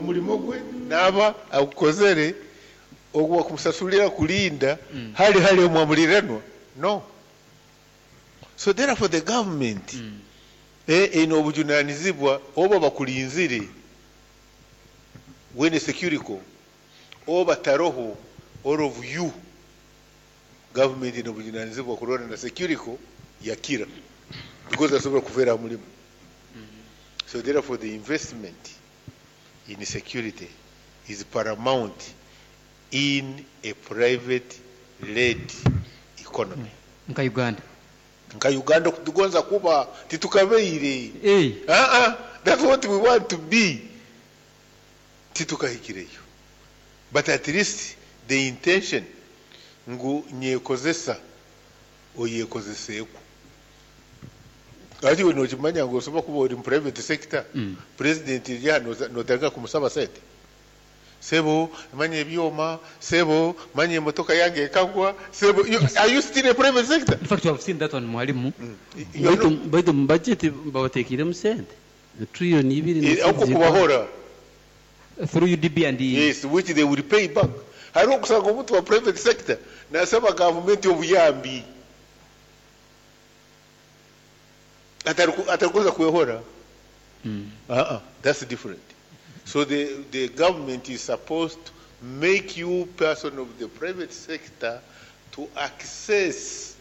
Omulimo gwe naaba agukozere, ogu wakumusasulira kulinda hali hali omwamuliranwa no. So therefore the government eine obujunanizibwa oba bakulinzire wene security oba taroho, all of you, government ine obujunanizibwa kurora na security yakira because asobola kufera ha mulimu. So therefore the investment in security is paramount in a private led economy. Nka Uganda. Nka Uganda okutugonza kuba titukabaire. That's what we want to be. Titukahikireyo. But at least the intention ngu nyekozesa oyekozeseekwo. Hati iwe nokimanya ngu osobola kuba ori mu private sector, president eri aha notandika kumusaba sente? Sebo manya ebyoma, sebo manya emotoka yange ekagwa, sebo, are you still a private sector? In fact, we have seen that one, mwalimu. Baitu mu budget babateekeiremu sente trillion ibiri. Okwo kubahora. Through UDB and Yes, which they will pay back. Hariho okusanga omuntu wa private sector nasaba gavumenti obuyambi atarikuza kwehora. That's different. So the government is supposed to make you person of the private sector to access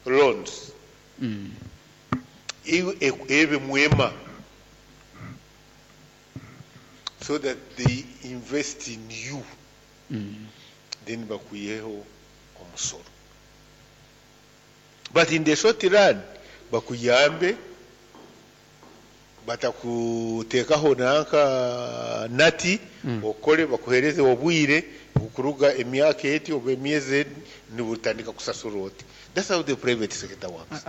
loans. Ebe mwema so that they invest in you. Then bakuyeho omusoro. But in the short run, bakuyambe batakuteekaho nanka nati okole bakuhereze obwire okuruga emyaka eti oba emyezi nibutandika kusasura oti. That's how the private sector works.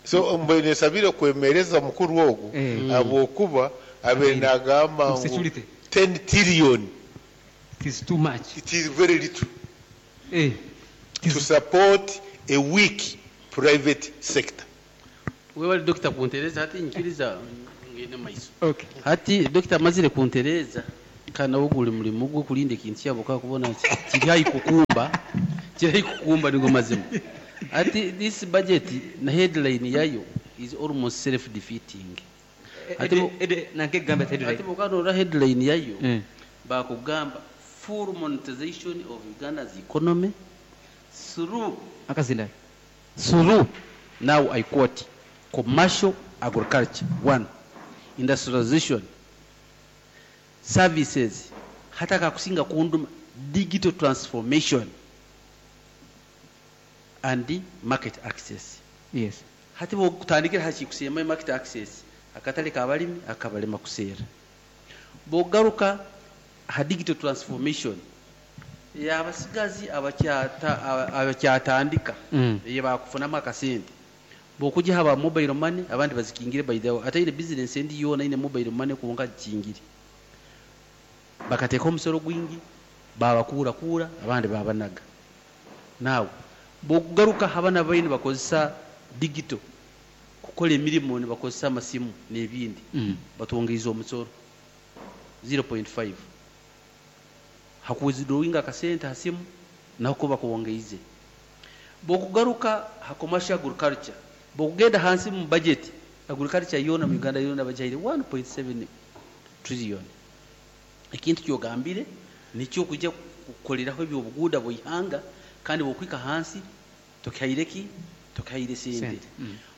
So mbwene nsabire kwemereza mukuru ogu habwokuba abe nagamba ngu 10 trillion It is too much. It is very little to support a weak private sector. Webale Dokita kuntereza hati nyikiriza ngende maiso. Hati Dokita amazire kuntereza kandi nawe guli mulimu gwe kulinda ekintu kyabo kakubona kiri haihi kukumba, kiri haihi kukumba nigo mazima. Hati this budget na headline yayo is almost self defeating. Hati bukanora headline yayo bakugamba full monetization of Uganda's economy through akazinda through, now I quote, commercial agriculture, one, industrialization, services, hata kakusinga kunduma, digital transformation and market access. Yes. Hati bwotandikira haki kusema market access, akatale kabalimi akabalema kusera. Bogaruka ha digital transformation ya abasigazi abakyatandika ye bakufunamu akasente. Bokujja haba mobile money abandi bazikingire by the way, ate ile business endi yona ine mobile money kuonka kingire. Bakateka omusoro gwingi babakura kura abandi babanaga. Now bokugaruka habana baine bakozesa digital kukola emirimu ne bakozesa amasimu n'ebindi batwongeiza omusoro 0.5 hakuwithdrawinga akasente hasimu nako bakuwongeize. Bokugaruka ha commercial agriculture bokugenda hansi mu budget agriculture yona mu Uganda yona bajaire 1.7 trillion. Ekintu kyogambire nikyo kujja kukoleraho ebyobuguuda bw'ihanga kandi bokwika hansi tokaireki tokaire sente.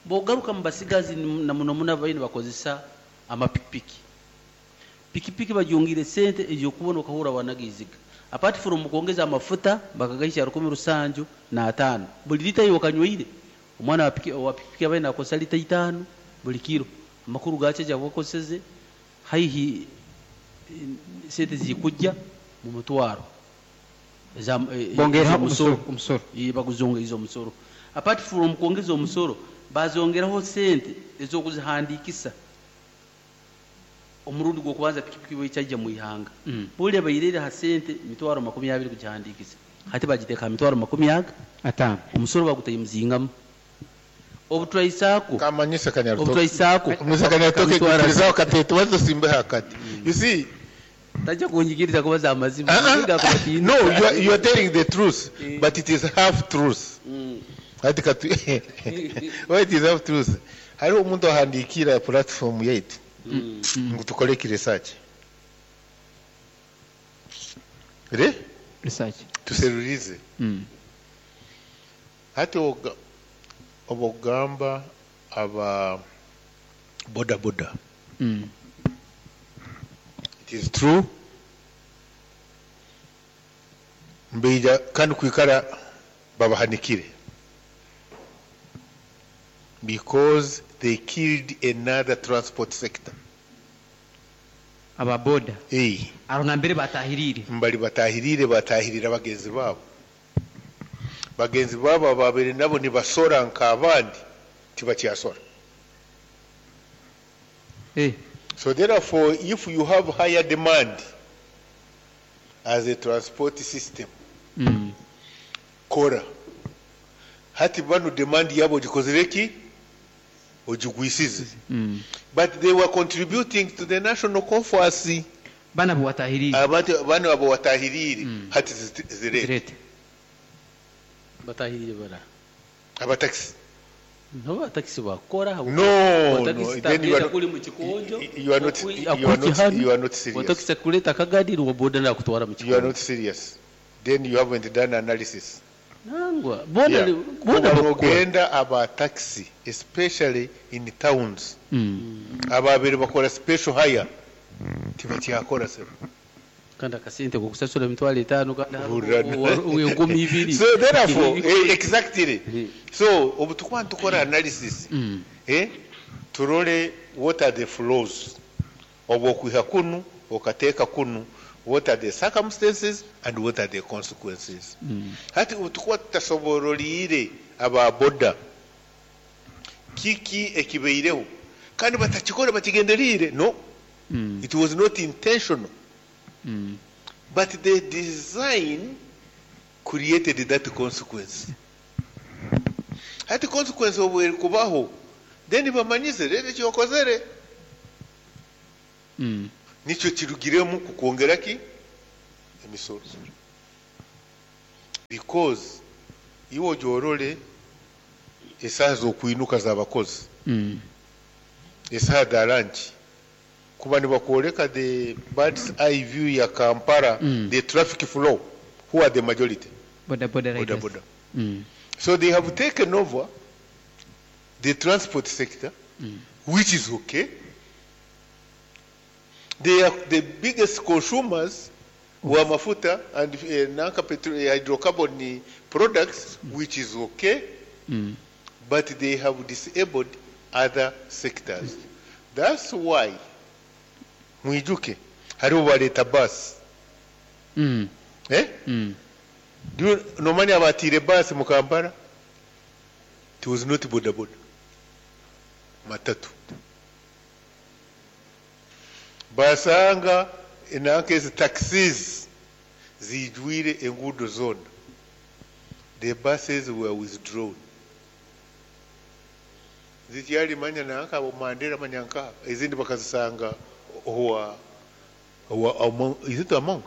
Bogaruka mu basigazi na muno muno abaine bakozesa amapikipiki. Pikipiki bajongire sente ejo kubona okahura wanagiziga. Apart from kuongeza amafuta bakagaisha 1705 buli lita yo kanyweire omwana wa pikipiki abaine akosa lita 5 buli kilo. Amakuru gache jabokoseze haihi sente zikujja mu mutwaro. Bongera omusoro. Baguzonga izo omusoro. Apart from kuongeza omusoro bazongeraho sente ezokuzihandikisa. Omurundi gwokubanza pikipiki bwechajja mu ihanga. Bule bayirira ha sente mitwaro 20 kugihandikisa. Hati bagiteka mitwaro 25. Omusoro bagutayimuzingamu. Obutwaisako. Kamanyisa kanyarutoke. Obutwaisako. Kamanyisa kanyarutoke kirizaho katete wazo simbe hakati. You see, Tajja kunyikiriza kubaza amazima. Ah, ah. Nsinga kubatiina. No, you are telling the truth, but it is half truth. Ati katu why it is half truth? Hariho omuntu ahandiikira platform yaitu ngu tukore eki research re Research. Tuserurize. Hati obogamba aba boda boda, it is true, mbeija kandi kwikara babahanikire because they killed another transport sector. Aba boda. Eh. Aro nambere batahirire. Mbali batahirire, batahirira bagenzi babo, bagenzi babo babere nabo nibasora nk'abandi tibakyasora. So therefore, if you have higher demand as a transport system, kora hati bano demand yabo ogikozere ki, ogigwisize. But they were contributing to the national coffers. Bana bo watahirire. Abantu bano abo watahirire, hati zirete. Zirete. Batahirire bara. Abatakisi. Nabo abatakisi bakora. No, no, then you are not, kuli mu kikonjo. You are not serious. Watakisi kuleta akagadi wa boda na kutwara mu You are kikonjo. Not serious, then you haven't done analysis. Nangwa boda. Yeah. Boda Kuba bakora. nogenda aba taxi, especially in towns, ababiri bakora special hire tibakyakora sebo. Kandi akasente kokusasula 50,000 kandi Hurra. 2,000. So therefore, exactly, so obu tukuba nitukora analysis, turole what are the flows obu okwiha kunu okateeka kunu, what are the circumstances and what are the consequences. Hati obu tukuba tutasoboroliire aba boda kiki ekibaireho, kandi batakikora bakigenderiire, no, it was not intentional, but the design created that consequence. Hati consequence obu erikubaho, then bamanyize rero ekyokozere nikyo kirugiremu kukwongera ki emisoro, because iwe ogyorole esaaha z'okwinuka z'abakozi, esaaha za lunch, kuba nibakwoleka the bird's eye view ya Kampala, the traffic flow, who are the majority? Boda boda Boda riders. Boda. So they have taken over the transport sector, which is okay. They are the biggest consumers wa mafuta and nanka hydrocarbon products, which is okay, but they have disabled other sectors. That's why mwijuke hariho baleeta bus. Eh? Do you nomanya abatiire bus mu Kampala? It was not boda boda, matatu. Basanga enanka ezi taxis zijwire enguudo zonna. The buses were withdrawn. Zikyali manya nanka abo Mandera manya nka ezindi bakazisanga owa among, is it among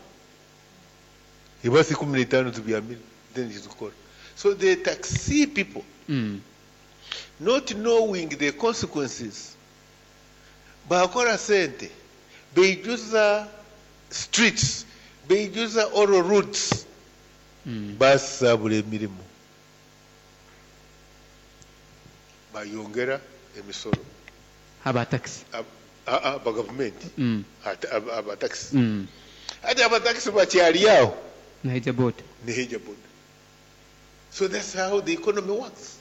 ebasi 15 zibyamire, then zikora. So the taxi people, not knowing the consequences, bakora sente, beijuza streets, beijuza all routes, basabula emirimu, bayongera emisoro. Aba taxi. Aba gavumenti. Abatakisi. Ate abatakisi bakyali awo. Naija boda. Neheja boda. So that's how the economy works.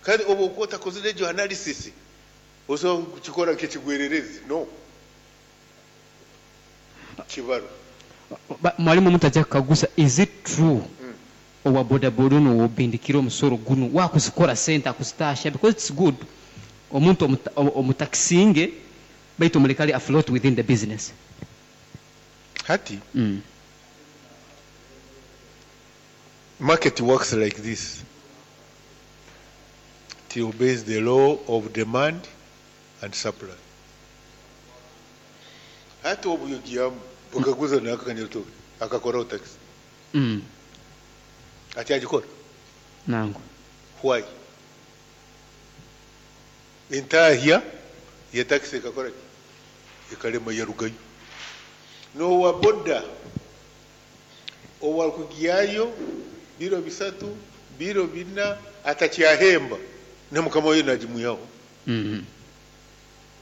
Kandi oba okuba otakozire egyo analysis, osobola kukikora nk'ekigwererezi, no kibaro. Mwalimu, omuntu ajja kukaguza, is it true owa boda boda ono wobindikira omusoro guno wakuzikora sente akuzitasha? Because it's good omuntu omutakisinge baitu omulekale afloat within the business. Hati market works like this: it obeys the law of demand and supply. Hati Hati obuyogiyamu bukaguza nakakanyatoke akakoraho taxi. Akyagikora? Nangwa. Why? Entahya ya taxi ekakora ki? Ekalema, yarugayo. Nowa boda owarukugyayo biro 3, biro 4, atakyahemba, na mukama we nagimwihaho.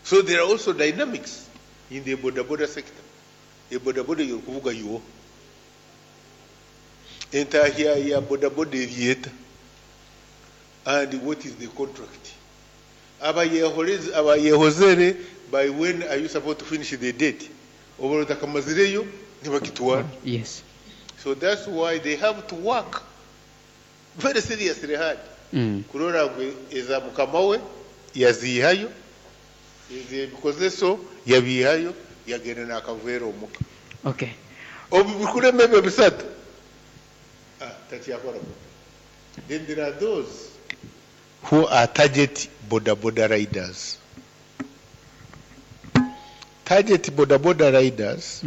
So there are also dynamics in the boda boda sector. E boda boda yorukuvuga yo, entahya ya boda boda eryeta, and what is the contract abayehozere? By when are you supposed to finish the date? Oba otakamazireyo, nibakitwara. So that's why they have to work very seriously hard kurora ngu eza mukama we yaziihayo, ez'ebikozeso yabiihayo, yagenda n'akaveera omuka. Obu bikurema ebyo bisatu, takyakora. Then there are those who are target boda boda riders. Target boda boda riders,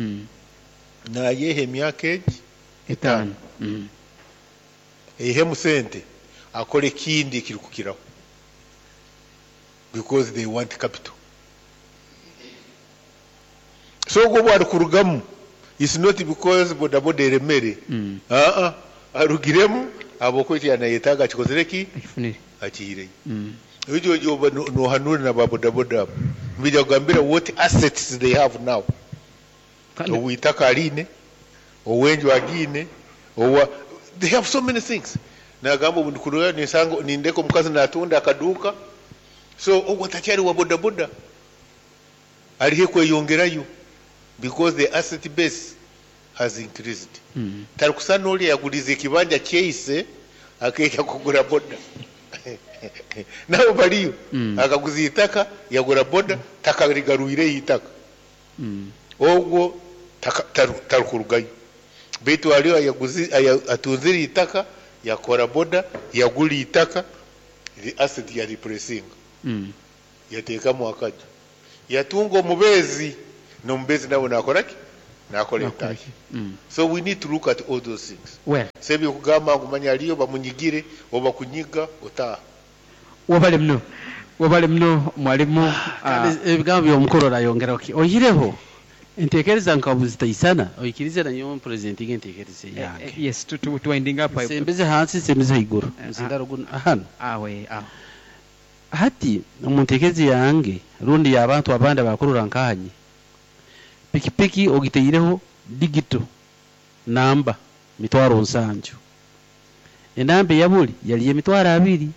nayeha emyaka egi 5. Eihemu sente, akora ekindi ekirikukiraho, because they want capital. So ogwo obu arikurugamu, it's not because boda boda eremere. Aa, arugiremu habwokuba eki yanayetaaga akikozere ki? Akifunire. Akihireyo. Ekyo oba nohanura na ba boda boda abo, nibija kugambira what assets they have now. Kandi Owitaka aline, owenju agiine, owa they have so many things. Nagamba, obu ndikurora ninsanga nindeka omukazi natunda akaduuka. So ogwo takyali wa boda boda, aliho kweyongerayo because the asset base has increased. Tarikusana oli yaguliza ekibanja kyeise akeija kugura boda. Nabo baliyo. Akaguza itaka, yagura boda, takarigarwireyo itaka. Ogwo tarukurugayo, baitu haliyo atunzire itaka, yakora boda, yagura itaka, the asset ya replacing, yateekamu akaju, yatunga omubeezi, n'omubeezi nawe nakora ki? Nakora Nakora. Entahya. So we need to look at all those things. Well. Sebyo kugamba ngu manya aliyo bamunyigire oba kunyiga otaaha. Wabale muno, wabale muno, mwalimu. Kandi ebigambo by'omukuru orayongeraho ki oyireho entekereza nka buzitaisana, oikirize nanyowe mpresentinga entekereza yange. Yes, to winding up. Nsembeze hansi, nsembeze haiguru. Muzindaro guno hano. Awe aho. Hati omu ntekereza yange rundi y'abantu abandi abakurora nkanye, pikipiki ogiteireho digital namba 700,000, enamba eyabuli yali 20,000,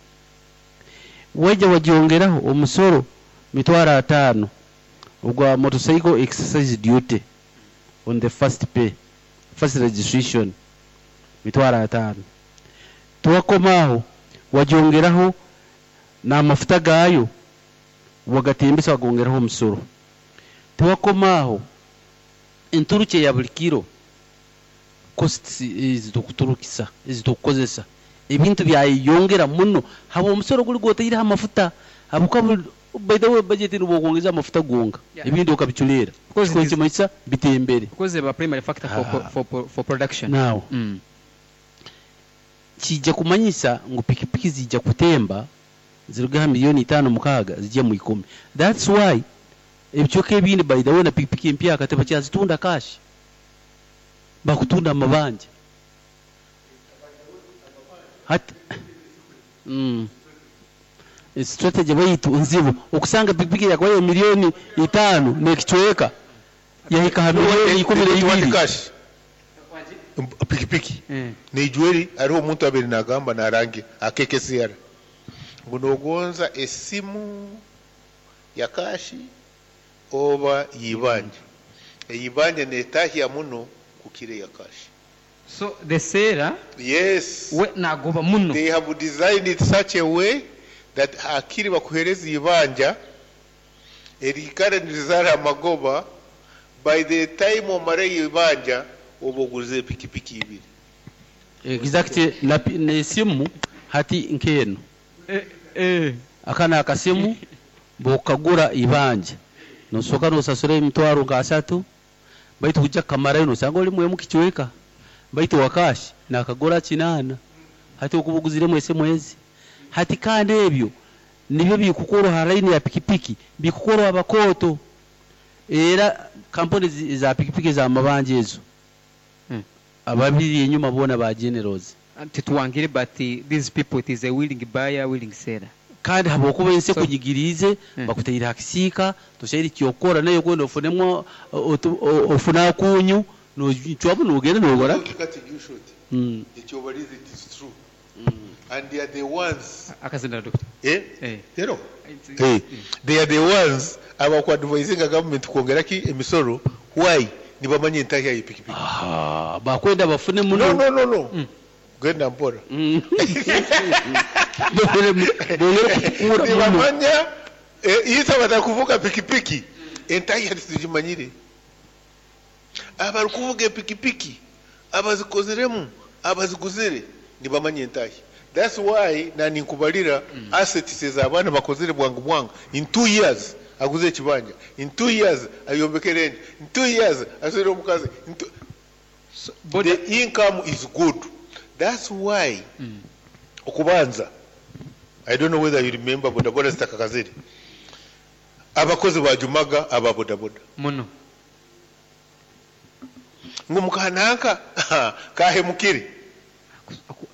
wajja wagyongeraho omusoro 50,000 ogwa motorcycle excise duty on the first pay, first registration, 50,000. Tuwakomaaho wagyongeraho n'amafuta gaayo, wagatembesa, wagongeraho omusoro. Tiwakomaaho, enturukye ya buli kiro, costs ezitukuturukisa, ezitukukozesa ebintu byayeyongera muno habwa omusoro guli gwoteireho amafuta, habwokuba by the way budget nibwokwongeza amafuta gonka, ebindi okabiculeera. Because it is- Kimanyisa bitembere. Because they were primary factor for production. Now kijja kumanyisa ngu pikipiki zijja kutemba ziruge ha 5 miliyoni, 6 zijje mu 10. That's why ebicweka ebindi, by the way, na pikipiki empyaka tebakyazitunda cash, bakutunda amabanja hati. Strategy baitu nzibu okusanga pikipiki yakubaye 5 miliyoni n'ekicweka yahika ha 12 miliyoni. Cash pikipiki nijweri hariho omuntu abere nagamba narange akekesiara ngu nogonza esimu ya cash oba yibanja, eyibanja netahya muno kukira ya cash. So the seller Yes. we nagoba muno. They have designed it such a way that hakiri bakuhereza ibanja erikara nirizara amagoba, by the time omara ibanja oba oguze pikipiki ibiri. Exactly. Na n'esimu hati nk'eno, aka akasimu bwokagura ibanja nosooka nosasura 30,000. Baitu kujja kukamarayo nosanga oli mwemu kicweka. Baitu wa cash nakagura 8. Hati okuba oguziremu esimu ezi. Hati kandi ebyo nibyo bikukorwa ha line ya pikipiki, bikukorwa abakooto. Era kampuni za pikipiki ez'amabanja ezo, ababiri enyuma boona ba generals. Tituwangire, but these people, it is a willing buyer, willing seller. Kandi habwokuba ensi ekunyigiriize, bakutaire ha kisiika, tosaire kyokukora, naye okwenda ofunemu ofune akunyu, nocwamu nogenda nogora. Cut you short. Ekyobalize, it is true. And they are the ones. Akazindalo, doctor. Eh? Eh. Tero. Hey, they are the ones abakuadvisinga government kwongera ki emisoro. Why? Nibamanya entahya y'epikipiki. Aha, bakwenda bafune muno. No, no, no, no. Genda mpora. Bongere kutukura muno. Nibamanya isa batakuvuga pikipiki, entahya titugimanyire. Abarikuvuga epikipiki, abazikoziremu, abaziguzire, nibamanya entahya. That's why nani nkubalira assets ez'abaana bakozire bwangu bwangu. In 2 years aguze ekibanja, in 2 years ayombekere enju, in 2 years aswire omukazi. In two... So, boda, The income is good. That's why okubanza, I don't know whether you remember, bodaboda zitakakazire, abakozi bajumaga aba bodaboda. Muno. Ngu mukananka kahemukire.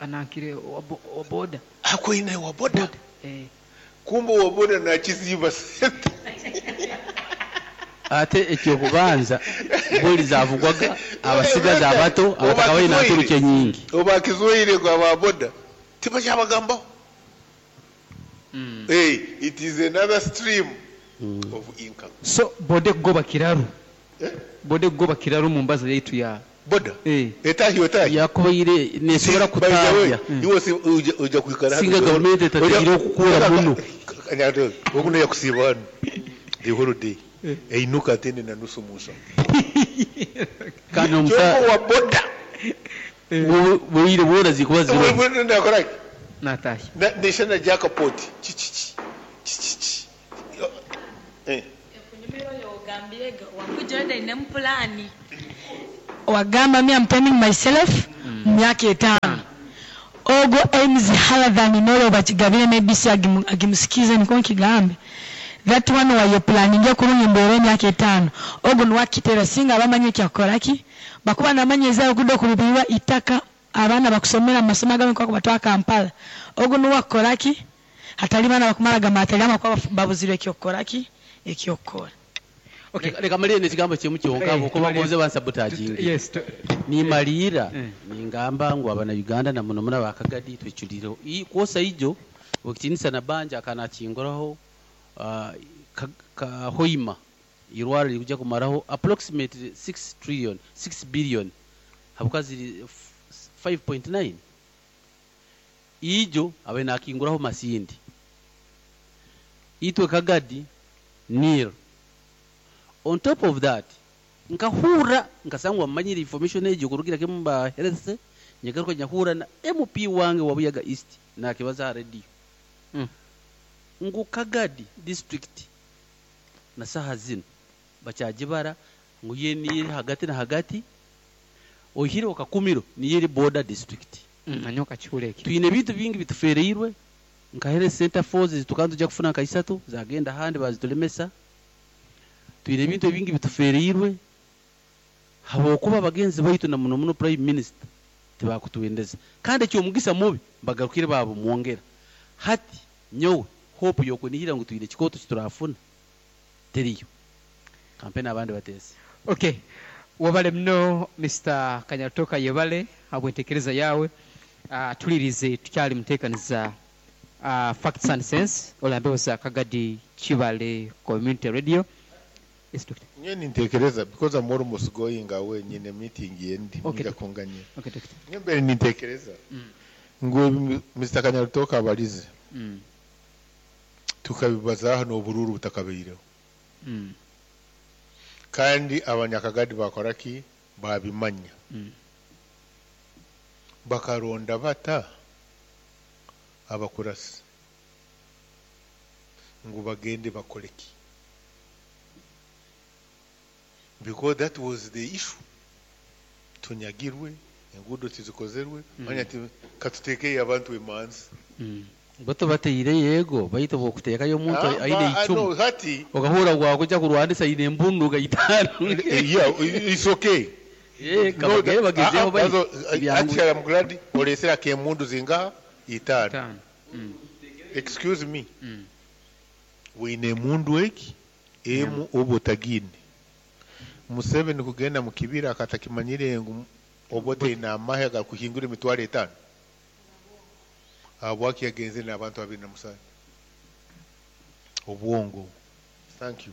Anankire wa boda. Akwine wa boda. Eh. Kumbe wa boda nakiziba sente. Ate ekyokubanza buli zavugwaga abasigazi abato abatakabaire naturuka nyingi. Obakizoire kwa ba boda tibakyabagambaho. Hey, it is another stream of income. So boda kugoba kiraru. Eh? Boda kugoba kiraru mu mbaza yaitu ya Boda eh. etahi otahi Yakubaire nesobora kutahya. Iwe si uja kuikara. Singa gavumenti etateire okukura muno. Okuno yakusiiba hano the whole day, einuka atende na nusu musa. Kandi kyoko omusa wa boda bwire bwona zikuba ziriho. Nakoraki? Natahya. Neshana jackpot chichichi chichichi eh. Ekunyumira oyo ogambire wakuja ine mpulani wagamba, me, I'm timing myself mu myaka 5 ogwo aims higher than nolo bakigabire, maybe si agimusikize niko nkigambe that one waye planning kurungi mbere emyaka 5 ogwo niwakitera singa abamanye ekyakukoraki bakuba namanye ezayo kudda okulubirwa itaka abaana bakusomera mu masomo agamu kwa kubatwara Kampala ogwo niwakukoraki hatali baana bakumara gamatali amakuba babuzirwe ekyokukoraki ekyokukora. Okay. Leka malire nekigambo kimu kyonka Eh, okuba tumalire. gonze bansabotaginge. Yes. Nimalira Eh. ningamba ngu abana Uganda na muno muno abakagadi tweculireho kwosa ijo okitinisa na banja akanakinguraho ka hoima irwara likuja kumaraho approximately 6 trillion, 6 billion, habuka ziri 5.9 ijo abe nakinguraho masindi itwe Kagadi nil. On top of that, nkahura nkasangwa mmanyire information egyo kurugira kimu ba health nyagaruka nyahura na MP wange wa Buyaga East nakibaza ha radio ngu Kagadi district na saha zino bakyagibara ngu ye niyo eri hagati na hagati ohire okakumiro niyo eri border district. Nanyoka kihuura eki. Twine ebintu bingi bitufereirwe nka health center forces tukaba tujja kufuna nka isatu zagenda ahandi bazitulemesa. Twine ebintu ebingi bitufereirwe habwokuba abagenzi baitu na muno muno prime minister tibakutwendeza. Kandi ekyomugisa mubi bagarukire babumwongera. Hati nyowe hope yokunihira ngu twine ekikooto kiturafuna teriyo kampeni abandi bateese. Okay, wabale muno Mr. Kanyarutooka, yebale habwentekereza yawe. Tulirize tukyali muteekaniza Facts and Sense olambeho za Kagadi Kibale Community Radio. Yes, doctor. Nye nintekereza because I'm almost going away, nyine meeting yendi. Okay. Nja kunganyira. Okay, doctor. Nye mbere nintekereza ngu Mr. Kanyarutoka abalize tukabibaza hano obururu butakabaireho kandi abanyakagadi bakoraki babimanya bakaronda bata abakurasi ngu bagende bakoleki. Because that was the issue. Tunyagirwe, enguudo tizikozerwe, manya katuteekeyo abantu emanzi. Bato bateire yego, baitu bokuteekayo omuntu aine icumu. No, hati Okahura gwakuja kurwanisa aine embundu gaitano. Yeah, it's okay. Kabagere bagezeho baitu. Actually, I'm glad olesera kemundu zingaha itano. Excuse me. Wine mundu eki emu obotagine. Museveni kugenda mu kibira akatakimanyire ngu obote ina amahe agakuhingura emitwaro 5. Habwaki yagenze n'abantu 27. Obwongo. Thank you.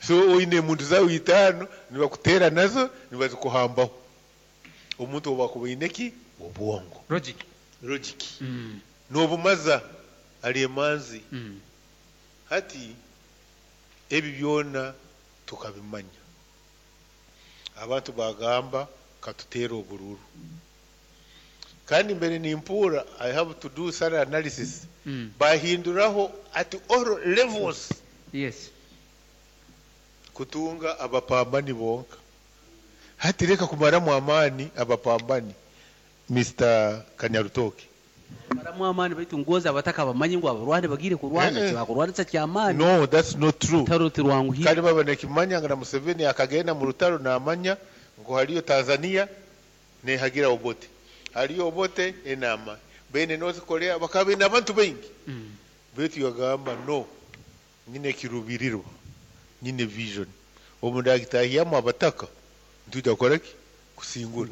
So oine muntu zawe 5 nibakutera nazo nibazikuhambaho. Omuntu obakubaine ki? Obwongo. Logic. Logic. N'obumaza ali emanzi. Hati ebi byona tukabimanya. Abantu bagamba katutera obururu. Kandi mbere nimpura I have to do some analysis. Bahinduraho at all levels. Yes. Kutunga abapambani bonka. Hati reka kumaramu amani abapambani Mr. Kanyarutoki. Maramu amani baitu ngoza abataka bamanyi ngo abarwane bagire kurwana bakurwanisa kyamani. No, that's not true. Rutaro tirwanguhira. Kandi baba nekimanya nga Museveni akagenda mu rutaro namanya ngo haliyo Tanzania nehagira Obote. Haliyo Obote enama. Bene North Korea bakabe n'abantu bengi. Baitu yagamba no. Nyine kirubirirwa. Nyine vision. Omundagitahiyamu abataka ntuja koreki kusingura.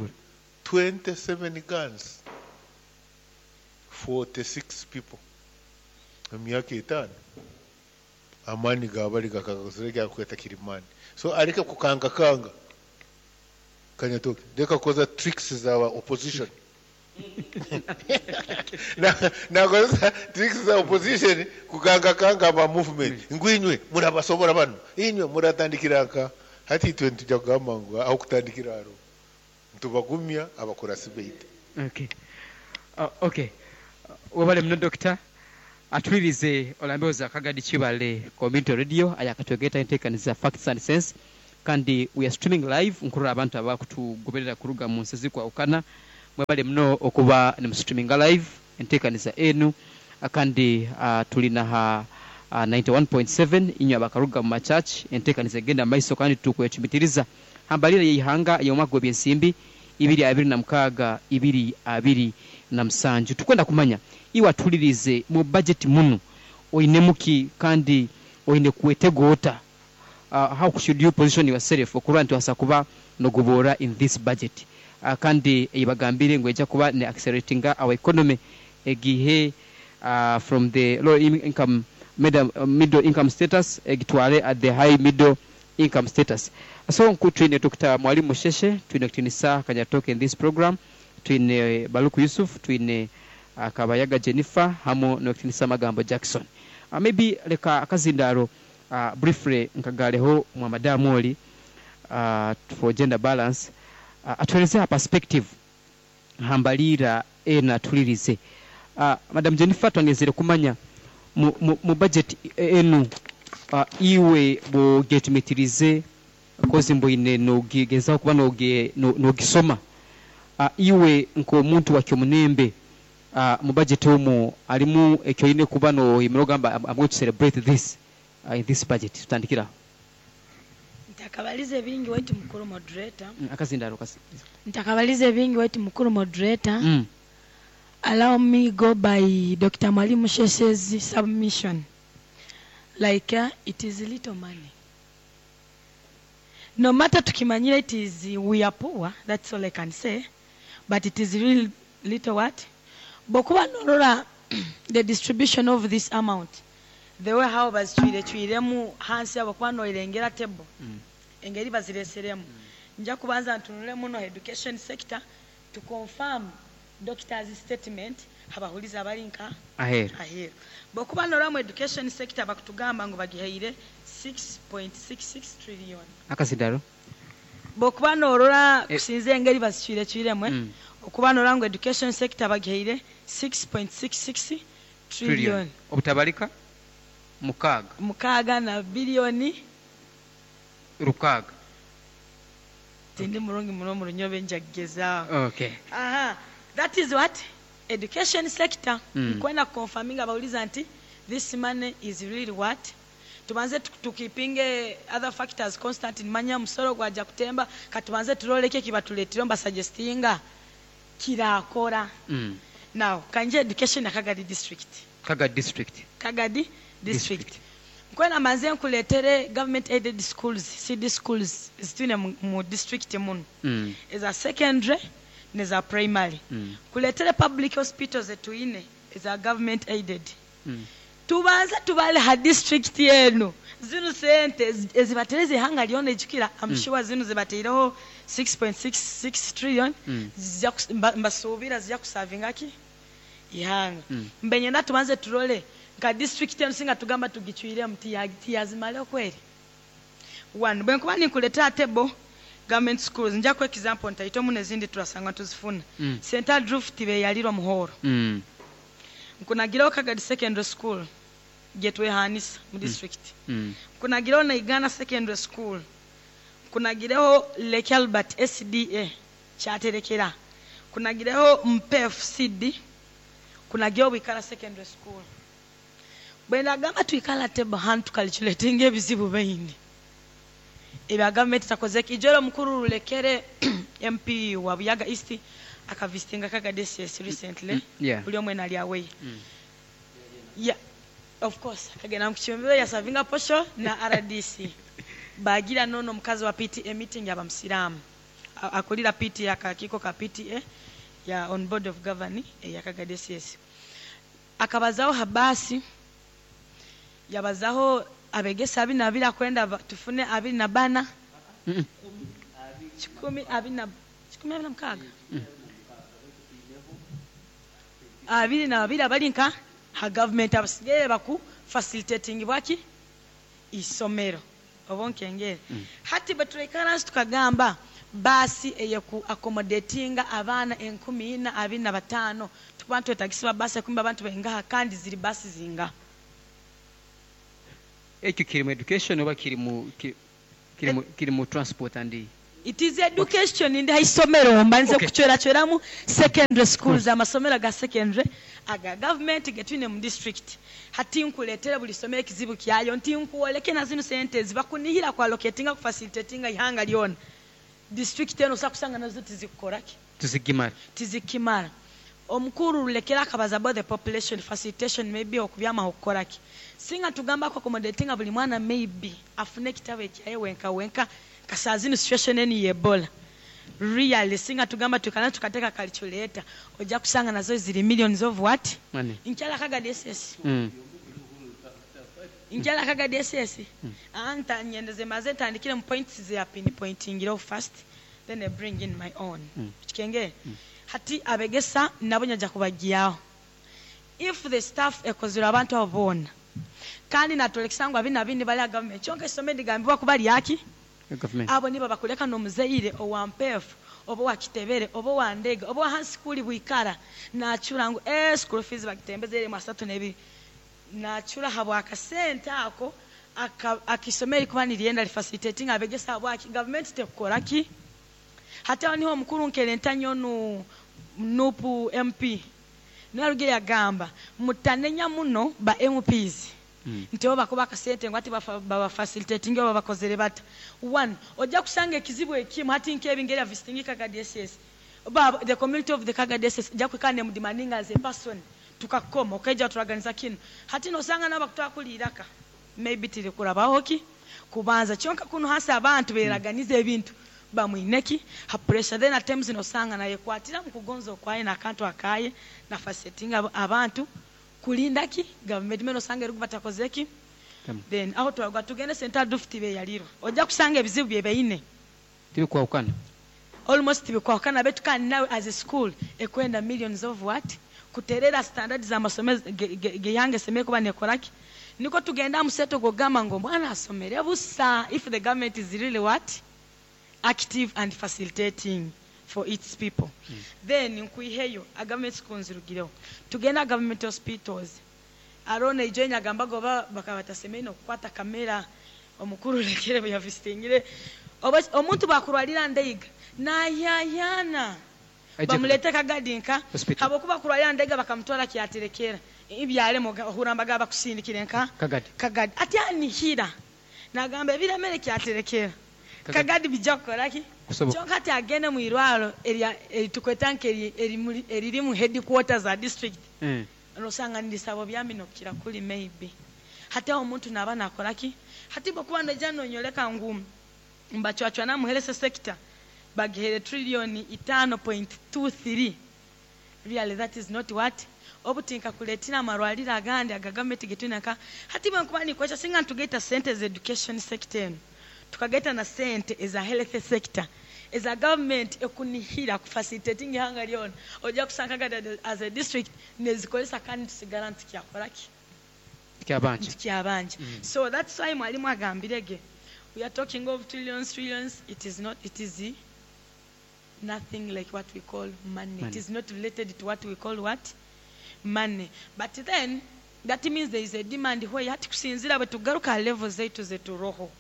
27 guns. 46 people. Emyaka 5. Amani gabali gakagazireka kweta kirimani. So areke kukanga kanga. Kanyatoke. Reka koza tricks za opposition. Na koza tricks za opposition kukanga kanga ba movement. Ngwinywe murabasobora bano. Inywe muratandikiraka. Hati itwe ntujya kugamba ngo aho kutandikira aro. Ntubagumya abakurasi beite. Okay. Okay. Wabale mno doctor atwirize olambeoza Kagadi Kibale Community Radio ayakatwegeta enteekaniza Facts and Sense kandi we are streaming live nkurura abantu abakutugoberera kuruga mu nsi zikwawukana. Mwebale mno okuba ni streaming live enteekaniza enu kandi tulina ha 91.7 inywe abakaruga mu machurch enteekaniza egenda maiso kandi tukwecumitiriza hambalira yeihanga y'omwaka gw'ebyensimbi 2026 2027. Tukwenda kumanya iwe atulirize mu budget muno oine muki kandi oine kwetegoota. How should you position yourself okurwa nti wasa kuba nogobora in this budget? Kandi ibagambire ngo ejja kuba ne accelerating our economy egihe from the low income middle income status egitwale at the high middle income status. So twine Dr. Mwalimu Sheshe, twine Kutinisa Kanyatoke in this program, twine Baluku Yusuf, twine Kabayaga Jennifer hamo no Kutinisa Magambo Jackson. Maybe leka akazindaro briefly nkagaleho mwa madamu oli for gender balance atuelezea perspective hambalira ena tulirize. Madam Jennifer, twangezere kumanya mu budget enu iwe bogetumitirize kozi mboine nogezaho kuba nogisoma iwe nk'omuntu wa kyomunembe mu budget omu alimu ekyoine kuba no imirogamba I'm going to celebrate this in this budget. Tutandikira ntakabalize bingi wetu mukuru moderator. Akazindaro kasi ntakabalize bingi wetu mukuru moderator. Allow me go by Dr. Mwalimu Sheshe's submission. Like it is little money. No matter tukimanyira it is we are poor, that's all I can say. But it is real little what? Bokuba norora the distribution of this amount. The way how bazitwire hansi abo kuba noirengera table. Engeri bazireseremu. Nja kubanza ntunule muno education sector to confirm doctor's statement abahuliza abalinka aheru. Aheru. Bokuba norora education sector bakutugamba ngo bagiheire 6.66 trillion. Akazindaro. Bokuba norora kusinze engeri bazitwire okuba norora ngo education sector bagiheire 6.66 trillion. Obutabalika mukaga na bilioni 6. Tindi murungi muno mu runyobe, njagezaaho. Okay. Aha, that is what education sector. Nkwenda confirming abawuliza nti this money is really what tubanze tukipinge other factors constant. Nimanya omusoro gwajja kutemba, katubanze turoleke kibatuleetire mbasuggestinga kirakora. Now kanje education ya Kagadi District. Kagadi District. Kagadi District. Nkwenda manze nkuletere government aided schools, CD schools zitwine mu district muno, eza secondary neza primary. Kuletere public hospitals etuyine eza government aided. Tubanze tubale ha district yenu zino sente ezibatereza ihanga lyona. Ejukira, I'm sure zino zibateireho 6.66 trillion. Mbasuubira zijja kusavinga ki ihanga. Mbenyenda tubanze turole nka district enu, singa tugamba tugicwiremu tiyazimale kweri one. Bwe nkuba ninkuleetera table government schools, nja ku example ntaitomu nezindi turasanga tuzifuna. St Andrew tibeyalirwa muhoro. Nkunagiraho Kagadi Secondary School getwehanisa mu district. Nkunagiraho Naigana Secondary School, nkunagireho Lake Albert SDA kyaterekera, nkunagireho Mpef CD, nkunagireho Bwikala Secondary School. Bwe ndagamba twikala table hantu tukalituletenga ebizibu baini ebya gavumenti takoze. Ijoro mukuru Rulekere, MP wa Buyaga East, akavisitinga Kagadi SS recently. Buli omwe nali away. Yeah, of course akagenda mukikyumbiro yasavinga posho na RDC bagira nono omukazi wa PTA meeting yabamusiraamu akulira PTA, akakiiko ka PTA ya on board of governing eya Kagadi SS. Akabazaho habasi, yabazaho abegesa 22 akwenda tufune 24. Kikumi abiri na 126, 22 abali nka ha government, abasigaye baku facilitating bwaki isomero oba nkengere. Hati bwe tulekana tukagamba baasi eyeku accommodatinga abaana 4,025, tukuba ntwetagisibwa baasi ekumbi abantu bengaha, kandi ziri baasi zinga? Ekyo kiri mu education oba kiri mu kiri mu transport and It is education, ndi haisomero mbanze kuchwerachweramu secondary schools, amasomero ga secondary aga government getwine mu district. Hati nkuleetera buli somero ekizibu kyayo, nti nkuwoleke na zino sente zibakunihira ku allocatinga ku facilitatinga ihanga lyona, district eno osa kusanga nazo tizikukoraki. Tuzigimara. Tizikimara. Omukuru Rulekera akabaza about the population facilitation, maybe okubyamaho okukoraki singa tugamba ko accommodatinga buli mwana maybe afune ekitabo ekyaye wenka wenka. Kasaa zino situation eni ye Ebola, really singa tugamba tukana tukateeka calculator ojja kusanga nazo ziri millions of what? Money. Nkyala Kagadi SS. Nkyala Kagadi SS. Anta nyendeze maze ntandikire mu points ze pinpointingiraho first, then I bring in my own. Kikenge hati abegesa nabo nyajja kubagyaho if the staff ekozere abantu abo boona, kandi natolekesa ngu abina bindi bali government, kyonka essomero ligambibwa kuba lyaki? Government. Abo nibo bakuleka n'omuzaire owa Mpeefu oba owa Kitebere oba owa Ndega oba owa hansi bwikara nachura ngu school fees bagitembeza mu 32, nachura habwa akasente ako akisomero kuba niryenda lifacilitating abegesa habwaki government tekukoraki. Hati aho niho omukuru nkerenta nnyo nu NUP MP naruge yagamba mutanenya muno ba MPs nti bo bakuba akasente ngu ati babafacilitating oba bakozere bata. One, ojja kusanga ekizibu ekimu hati nk'ebingeri ya visiting Kagadi SS, ba the community of the Kagadi SS ojja kwekana ne mudemanding as a person tukakoma okaija turaganiza kino. Hati nosanga nabo bakutwakuliraka maybe tiri kurabaho ki kubanza kyonka kuno hasi abantu beraganiza ebintu bamwineki ha pressure. Then at times nosanga naye kwatira mu kugonza okwaye nakantu akaye na facilitating abantu kulinda ki government meno osanga eri batakoze ki. Then aho twagwa tugende St Andrew beyalirwa, ojja kusanga ebizibu bye beine Tibikwawukana. Almost bikwawukana betu, kandi nawe as a school ekwenda millions of what kuterera standard z'amasomero geyange semeye kuba nekoraki. Niko tugenda museto gogamba ngo mwana asomere busa if the government is really what active and facilitating for its people. Then nkwiheyo a government schools rugireho, tugenda government hospitals. Arone ijo nyagamba goba bakaba batasemeye no kukwata kamera. Omukuru lekere bwe yavisitingire oba omuntu bakurwalira ndeiga nayayana bamulete Kagadi nka Hospital. Habwokuba kurwalira ndeiga bakamutwara kyaterekera ibyalemo ohurambaga bakusindikire nka Kagadi. Kagadi ati anihira nagamba ebiremere kyaterekera Kagadi. Kagadi bijja kukoraki. Kusoboka. Kyonka ati agende mu irwaro eritukweta nke eriri mu headquarters za district, nosanga ndisabo byamino kukira kuli maybe hati aho omuntu naba nakoraki. Hati bwokuba noija nonyoleka ngu mbacwacwa namuherese sector bagihere trillion 5.23, really that is not what obutinka kuletera amarwaliro agandi aga gavumenti getwinaka. Hati bwe nkuba nikwesha singa ntugaita sente za education sector eno tukagaita na sente eza health sector eza government ekunihira kufacilitating ihanga lyona, ojja kusanga Kagadi as a district nezikolesa kandi tusigara ntukyakoraki. Kyabanja. Ntukyabanja. So that's why mwalimu agambirege we are talking of trillions, trillions. It is not, it is nothing like what we call money. It Money. is not related to what we call what money. But then that means there is a demand where hati kusinzira bwe tugaruka level zaitu zeturoho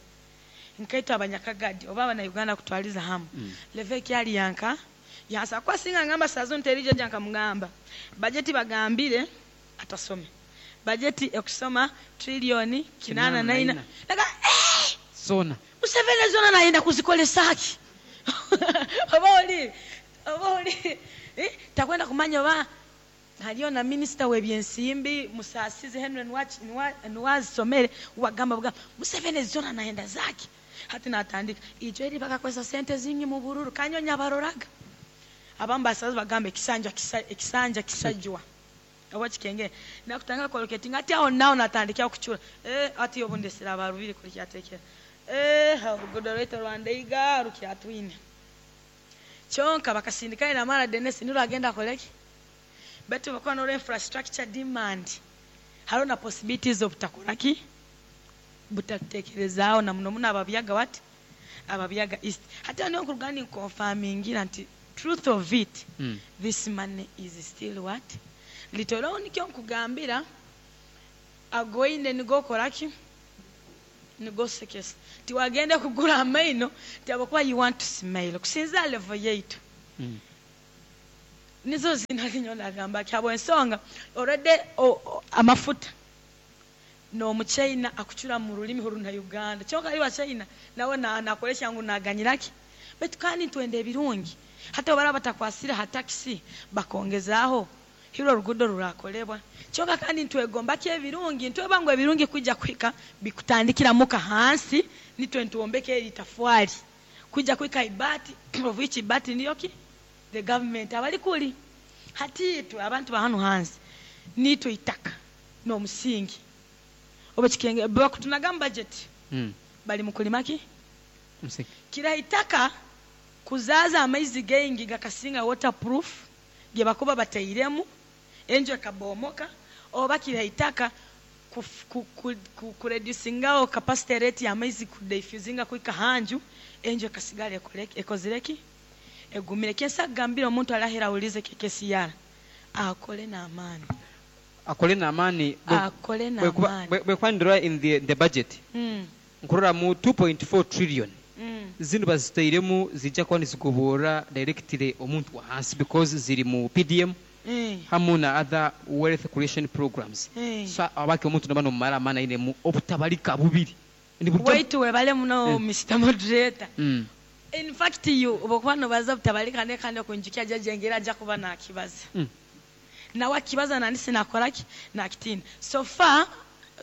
nkaitwe abanyakagadi oba abanauganda kutwaliza hamu, level ekyali yanka yansa kwa singa ngamba sazo nterije janka mugamba bajeti bagambire atasome bajeti ekusoma trillioni kinana Kinana naina naina. Naga, eh! Sona. Museveni zona nayenda kuzikolesaki oba oli takwenda kumanya oba haliyo na minisita w'ebyensimbi Musasizi Henry Nwazisomere wagamba bugamba Museveni zona nayenda zaki. Hati natandika ijo eri bakakozesa sente zingi mu bururu kanyonya baroraga abamu basazi bagamba ekisanja ekisanja kisajwa oba kikenge nakutanga collocating ati aho nawo natandikira okucura ati obundesera abarubiri kuri kyatekera orugudo rwaitu rwandeiga rukyatwine kyonka bakasindika ina mara Dennis niro agenda akoleki betu bakuba noro infrastructure demand hariho na possibilities of butakoraki butatekerezaaho na muno muno ababyaga what ababyaga east. Hati niyo nkurugani nkonfamingira nti truth of it, this money is still what little. Nikyo nkugambira agoine nigokoraki nigosekesa tiwagenda kugura amaino tiabakuba you want to smile kusinza level yaitu. Nizo zinalinyo nagamba kyabo ensonga already amafuta n'omuchina akucura mu rulimi runa Uganda kyonka ali wa China nawe nakolesha ngu naganyiraki betu kandi twende ebirungi hata bara batakwasira hatakisi bakongezaaho hilo rugudo rurakolebwa kyonka kandi ntwegomba ki ebirungi ntweba ngu ebirungi kujja kwika bikutandikira muka hansi nitwe ntuombeke eri tafwali kujja kwika ibati of which ibati ndiyo ki the government abali kuli hati itwe abantu ba hano hansi nitwe itaka n'omusingi oba kikenge bakutunaga mu budget bali mukulimaki Msingi. Kira itaka kuzaza amaizi gengi gakasinga waterproof ge bakuba batairemu enjo ekabomoka oba kira itaka kureducingao capacity rate ya amaizi kudiffusinga kwika hanju enjo ekasigala ekozireki egumire. Kyensa kugambira omuntu alahera awulize kekesiyara akole n'amaani. Akole n'amaani. Akole n'amaani. Bwekwandira in the budget nkurora mu 2.4 trillion zino bazitairemu zijja kuba nizigobora directly omuntu wa hansi because ziri mu PDM hamu na other wealth creation programs. So abaki omuntu naba nomumara amaani ainemu obutabalika bubiri. Ni buryo- Waitu webale muno. Mr. Moderator, in fact you obokuba nobaza butabalika ne kandi okunjukya jajengera ajja kuba nakibaza nawe akibaza nandi sinakoraki nakitina. So far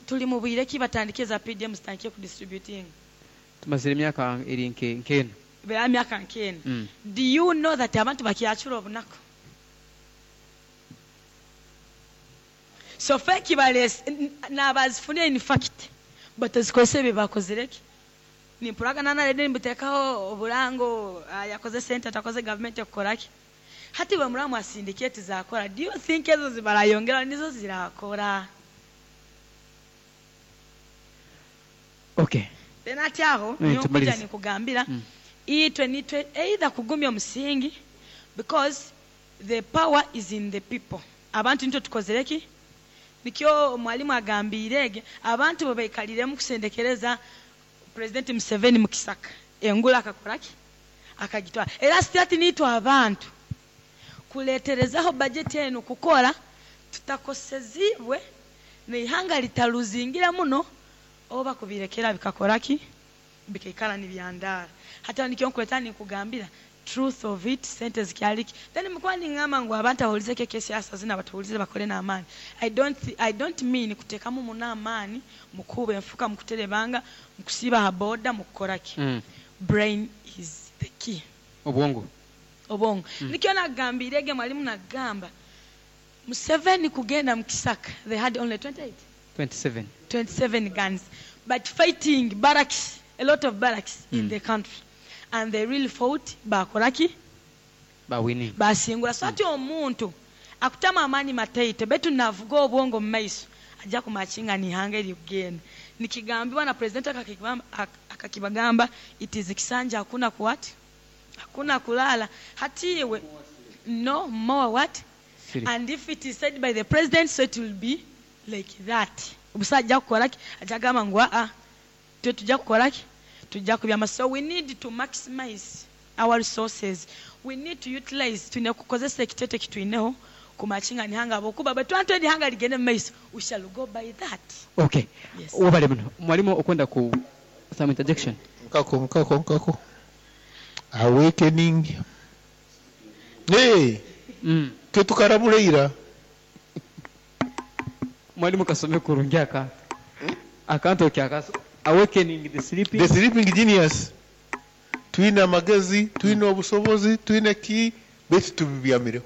tuli mu bwire ki batandike za PDM zitandike kudistributing? Tumazire emyaka eri nkena. Bera myaka nkena. Do you know that abantu bakyacura obunaku so far kibalese nabazifunire in fact batazikozesa ebyo bakozireki nimpuraga nanarede nibuteekaho oburango yakoze sente atakoze gavumenti ekukoraki hati bwe muramu asindiketi zakora. Do you think ezo zibarayongera nizo zirakora? Okay. Then ati aho niyo nkuja Tumalirize. nikugambira itwe nitwe either kugumya omusingi because the power is in the people. Abantu nitwe tukozereki nikyo mwalimu agambirege abantu bwe baikaliremu kusendekereza. President Museveni mukisaka engula akakoraki akagitwara. Era sitati niitwe abantu kuleterezaho budget enu kukora tutakosezibwe neihanga litaluzingira muno oba kubirekera bikakoraki bikaikara nibyandara. Hati nikyo nkuleta ninkugambira truth of it, sente zikyaliki. Then mukuba ningamba ngu abantu abawulizeko ekyesiasa zina batuwulize bakole n'amaani, I don't mean kuteekamu muno amaani mukuuba enfuka, mukuterebanga, mukusiiba ha boda, mukukoraki. Brain is the key. Obwongo. Obwongo. Nikyo nagambire ege mwalimu, nagamba Museveni kugenda mu kisaka, they had only 28 27. 27 guns, but fighting barracks, a lot of barracks in the country, and they really fought, bakoraki? Bawini. Basingula. So ati omuntu akutama amaani mataito betu navuga obwongo mu maiso ajja kumakinga nihanga erikugenda. Nikigambibwa na president akakibagamba, it is kisanja hakuna kuwati, hakuna kulala. Hatiwe no more what? Sleep. And if it is said by the president, so it will be like that. Obusa ajja kukolaki? Ajja gamba ngu aa, twe tujja kukolaki, tujja kubyama. So we need to maximize our resources, we need to utilize, tulina kukozesa ekitete kitwineho kumakinga nihanga abokuba bwe twantu erihanga ligende mu maiso, we shall go by that. Okay. Yes. Wabale muno mwalimu okwenda ku some interjection. Nkako nkako nkako awakening, hey, tetukarabula ira. Mwalimu kasome kurungi akantu, akantu okyakaso, awakening the sleeping The sleeping genius. Twine amagezi, twine obusobozi, twine ki, baitu tubibyamireho.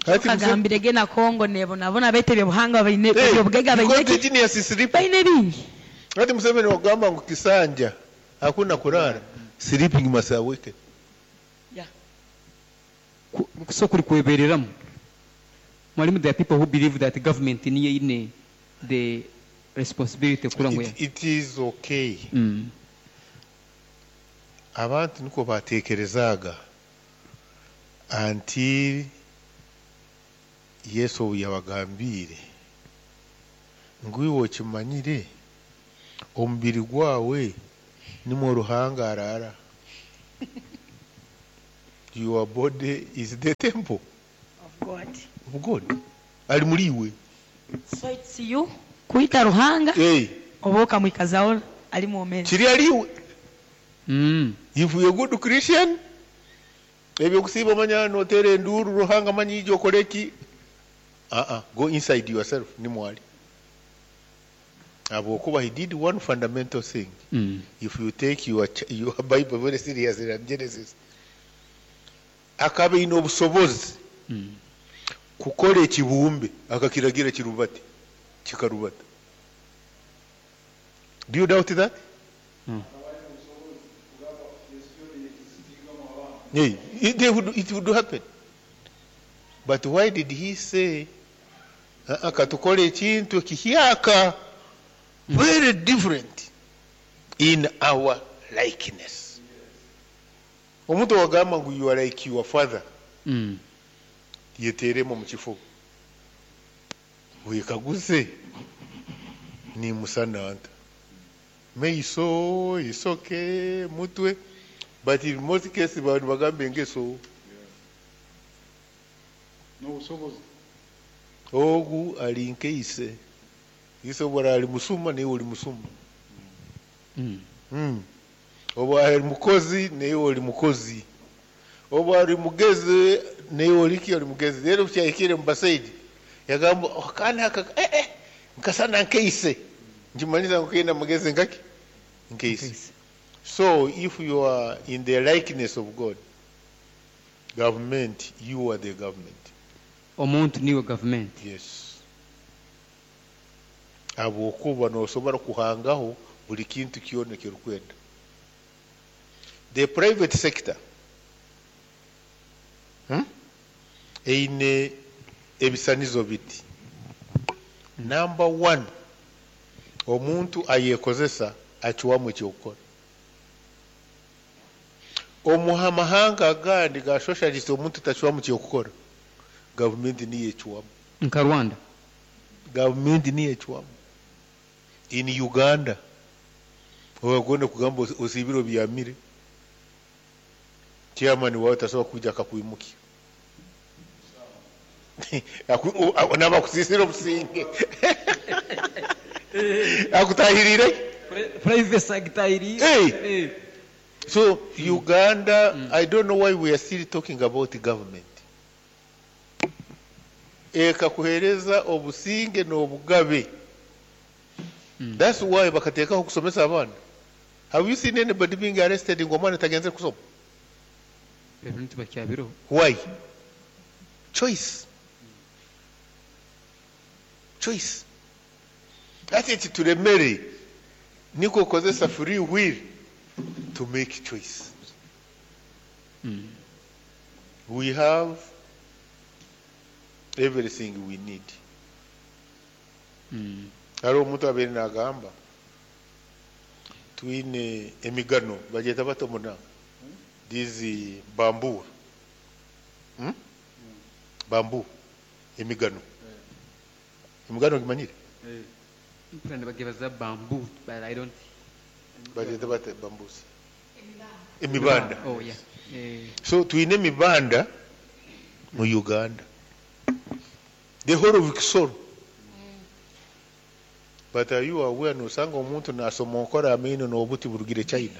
Hati kagambire ge na Kongo nebonabona betebye buhanga baine Hey, ebyobugaiga because baine the ki genius is sleeping. Baine bingi. Hati Museveni wagamba ngu kisanja hakuna kulala, sleeping must awaken. So kuri kwebereramu mwalimu, there are people who believe that government niyo ine the responsibility kura ngu It is okay. Abantu niko batekerezaaga until Yesu obu yabagambiire ngu iwe okimanyire omubiri gwawe nimwo Ruhanga araara, your body is the temple of God. Of God ali muri iwe. So it's you kuyita Ruhanga Hey, oba okamwikazaho ali mwomezi. Kiri ali iwe. If you're a good Christian, ebyokusiiba omanya noteera enduuru Ruhanga manyi ija okole ki, go inside yourself nimwali habwokuba he did one fundamental thing. If you take your Bible very seriously and Genesis, akaba ine obusobozi kukora ekibumbe akakiragira kirubate kikarubata. Do you doubt that? Mm. Yeah, it would happen. But why did he say, "Ah, katukole ekintu ekihyaka, very different, in our likeness"? Omuntu wagamba ngu you are like your father, yeteremu mu kifuba wekaguze nimusana nta meiso, isoke, mutwe. But in most cases bantu bagambe engeso. N'obusobozi. Ogu ali nkeise isobora ali musuma naye oli musuma. Oba ali mukozi naye oli mukozi, oba ali mugezi naye oliki oli mugezi. Rero kyahikire mu basaija yagamba, "Oh, kana aka eh, eh, nkasana nkeise nkimanyiza ngu kaina mugezi nkaki nkeise." So if you are in the likeness of God, government, you are the government. Omuntu niwe government. Yes, habwokuba nosobora kuhangaho buli kintu kyona ekyorukwenda. The private sector, Eine ebisanizo biti. Number one, omuntu ayekozesa acwamu ekyokukora. Omu mahanga agandi ga socialist, omuntu tacwamu kyokukora, gavumenti niyo ecwamu. Nka Rwanda. Gavumenti niyo ecwamu. In Uganda Obagonda kugamba osibire obyamire, chairman wawe tasobola kwija akakwimukya. Naba akusisira obusinge, akutahirire. Privacy agitahirire. Hey. Eh. So Uganda, I don't know why we are still talking about government. Ekakuhereza obusinge n'obugabe. That's why bakateekaho kusomesa abaana. Have you seen anybody being arrested ngo omwana tagenze kusoma? Ebintu bakyabiroho. Why? Choice. Choice. Ati ekituremere niko kukozesa free will to make choice. We have everything we need. Hariho omuntu abeire nagamba twine emigano bagyeta bata omunanga these bamboo, Bamboo, emigano gimanyire? Mpura nibagebaza bamboo, but I don't. Bagyeta bata bamboos? Emibanda. Oh yeah. Eh. So twine emibanda mu Uganda, the whole of Kisoro. But are you aware nosanga omuntu nasomonkora amaino n'obuti burugire China?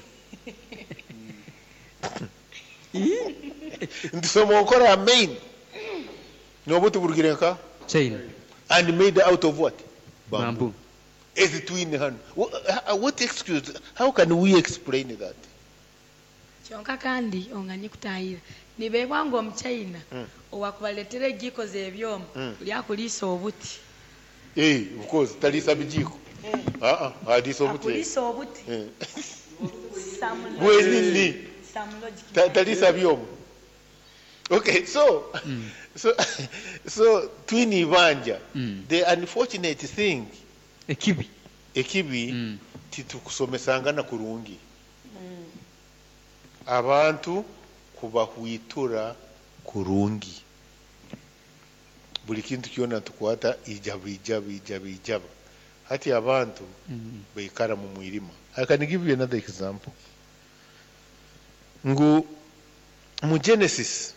Nti somonkora amaino n'obuti burugire nka China. And made out of what? Bamboo. Ezi twine hano. What excuse? How can we explain that? Kyonka kandi onganye kutahira nibeebwa ngu omuchina owakubaleetera egiiko z'ebyoma lyakuliisa obuti. Eh, of course talisa bijiko. Ah ah, alisa obuti. Akuliisa obuti. Eh. Some logic. Bwenini. Some logic. Talisa byoma. Okay, so twine ibanja. The unfortunate thing, Ekibi. Ekibi, titukusomesangana kurungi. Abantu kubahwitura kurungi. Buli kintu kyona tukwata ijaba, ijaba, ijaba, ijaba. Hati abantu baikara mu mwirima. I can give you another example. Ngu mu Genesis